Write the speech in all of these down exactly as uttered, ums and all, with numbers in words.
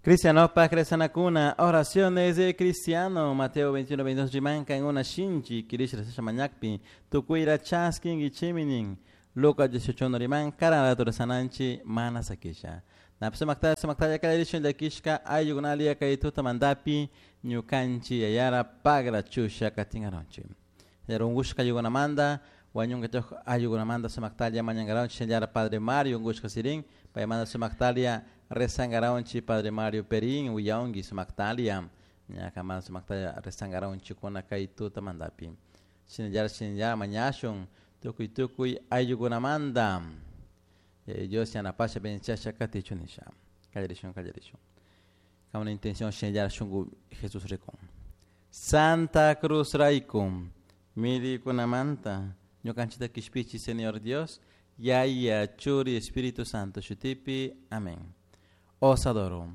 Cristianopak rezanakuna, oraciones de cristiano, Mateo veintiuno veintidós rimanka en una shinchi, kirish rezasha mañakpi, tukuyra chaskinkichimi nin, Lucas dieciocho uno riman, karan rato rezananchi, mana sakisha. Napsa maktaya, sumaktaya kallarishun llakishka ayllukunalia kay tuta mandapi, ñukanchi yayara pagra chusha katingaronchi. Yarungushka ayllukunamanta, wañunka choj ayllukunamanta sumaktalla mañangaronchi, shinallara Padre Mario ungushka sirin, paymanta sumaktalia rezangaronchi Padre Mario Perín, willaunki sumaktalia, ñakamanta sumaktalla rezangaronchi kuna kay tuta mandapi. Shinallara, shinallara mañashun, tukuy tukuy ayllukunamanta. Eh, Dios yanapasha benchasha katichu nisha. Kallarishun, kallarishun. Con una intención shinallara shungu Jesús rikun. Santa Cruz raikum, mirikunamanta, ñukanchita kishpichi Señor Dios, Yaya, Churi, Espíritu Santo, shutipi, amén. Os adoro.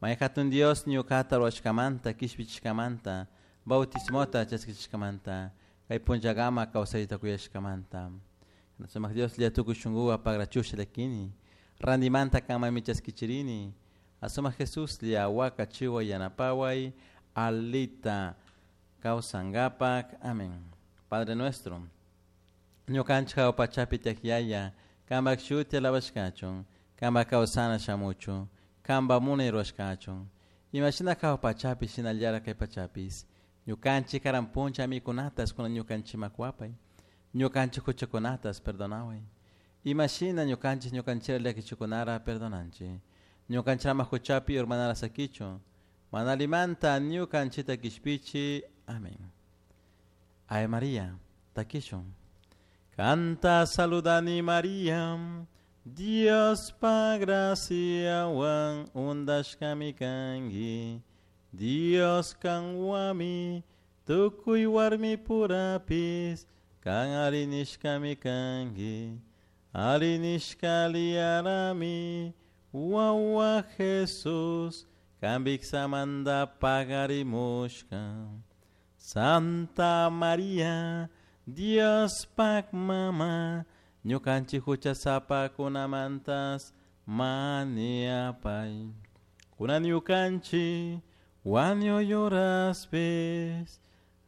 Mayhatun Dios, ñukata ruwashkamanta, kishpichishkamanta, bautismota chaskichishkamanta, kay punllagama kawsayta kuyashkamanta. Sumak Dios lia tukuy shunguwa pagrachusha llakini, randimanta kanmami chaskichirini, asuma Jesús lia waka chiwa yanapaway, alita kawsangapak. Amén. Padre nuestro, ñukanchik pachapi tiyak yaya, kanpak shuti alabashkachun, kanpak kawsana shamuchun, kanpak munay rurashkachun. Imashina kaw pachapi shinallara kay pachapis, ñukanchik karan puncha mikunatas kuna ñukanchimak wapay, ñukanchik huchakunatas perdonaway. Imashina ñukanchik ñukanchira llakichikunara perdonanchik. Ñukanchirama huchapi urmanara sakichun, manalimanta ñukanchita kishpichi. Amén. Ave María, takishun. Canta saludani María, Dios pa gracia wan undashkami kangi, Dios kanwami, tukuy warmi purapis, kan arinishkami kangi, arinishka liarami, wawa Jesús, kambiksamanda pagarimushka. Santa María, Dios pak mama, ñukanchik huchasapa kunamantas maniapay. Kuna ñukanchik wañuyuraspis.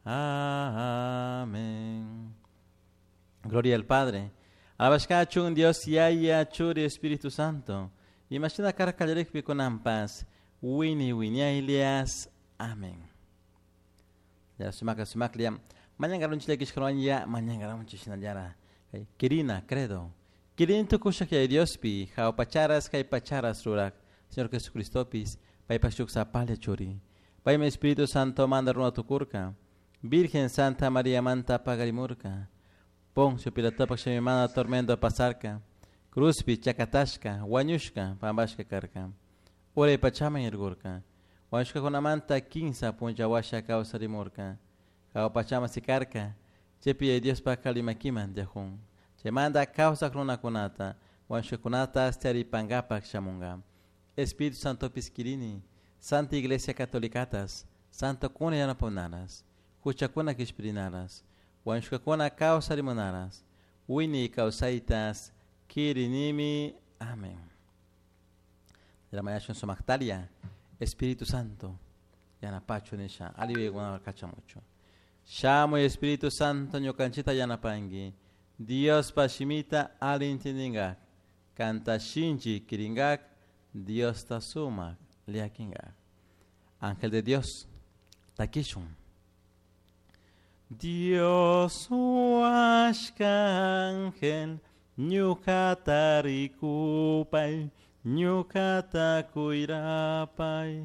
Amén. Gloria al Padre. Alabashkachun Dios Yaya Churi Espíritu Santo. Imashina karkallarikpi kunampas. Wini winiailias. Amén. Ya sumaka sumaklia. Mañangaronchi llakishkaruan mañangaronchi shinallara. Kirina, credo. Kirin tukushak yaya Diospi, jawpacharas kaypacharas rurak, Señor Jesucristopis, paypak shuk sapalla churi. Paymi Espíritu Santo manda runa tukurka, Virgen Santa María manta pagarimurka, Poncio Pilatopak shamimana tormento pasarka, Cruzpi chakatashka, wañushka, pampashka karka, Uray pachaman irgurka, wañushkakunamanta kinsa puncha washa kawsarimurka, Jawpachaman sikarka, chaypi Yaya Diospak kalimakiman tiyajun. Chaymanta kawsak runakunata, wañushkakunata taripankapak shamunka. Espíritu Santopis kirini, Santa Iglesia Catolicatas, Santo kuna yanapamunaras, huchakuna kishpirinaras, wañushkakuna kawsarimunaras, wini kawsaytas kirinimi. Amén. Ramayashun sumaktalia, Espíritu Santo, yanapachu nisha, aliwaykunaka kachamuchu. Shamuy Espíritu Santo ñukanchita yanapanki, Dios pashimita alintindingak, kanta shinchi kiringak, Dios ta sumak liakingak. Ángel de Dios, takishun. Dios huashka ángel, ñukata rikupay, ñukata kuyrapay.